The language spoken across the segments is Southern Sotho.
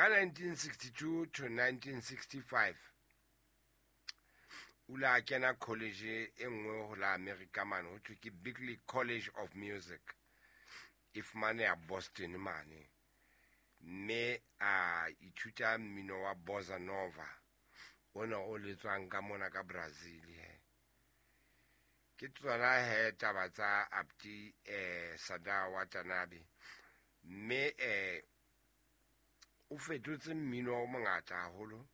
Ka 1962 to 1965 o ile a kena college e nngwe ho la America mane, ho thwe ke Berklee College of Music, e fumaneha Boston mane, mme a ithuta mmino wa bossa nova ona o letswang ka mona ka Brazil. He ke tsona he taba tsa Abdi Sada Watanabe, mme o fetotse mmino o mongata haholo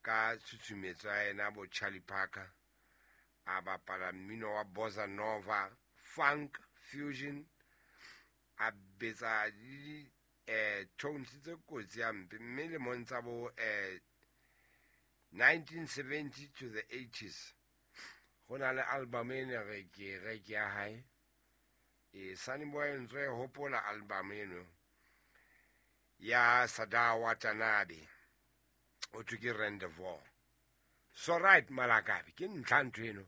ka tshutshumetso ya ena bo Charlie Parker. A bapala mmino wa bossa nova, funk, fusion, a betsa le tones tse kotsi hampe, mme lemong tsa bo 1970 to the 80s ho na le album e ne re ke reke ya hae. E Sunny Boy ntse e hopola album eno ya Sada Watanabe, o thwe ke Rendezvous. So right, malakabe ke ntlha ntho eno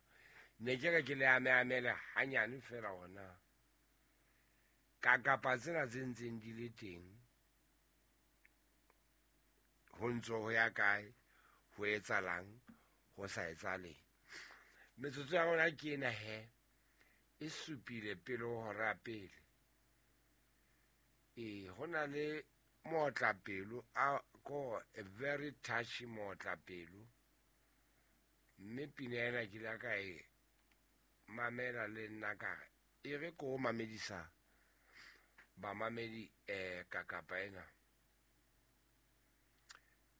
ne ke re ke le ame amele hanyane fela hona ka kapa tsena tse ntseng di le teng, ho ntso ho ya kae, ho etsalang, ho sa etsaleng. Metsotso ya rona ke ena he, e supile pele ho hora pele. E ho na le mootlapelo a ko a very touchy mootlapelo, mme pina ena ke ile ka e mamela le nna ka re e re ko mamedisa bamamedi ka kapa ena,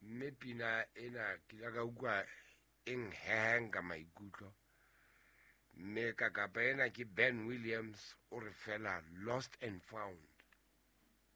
mme pina ena ke ile ka utlwa e nheheng ka maikutlo, mme ka kapa ena ke Ben Williams, o re fela Lost and Found.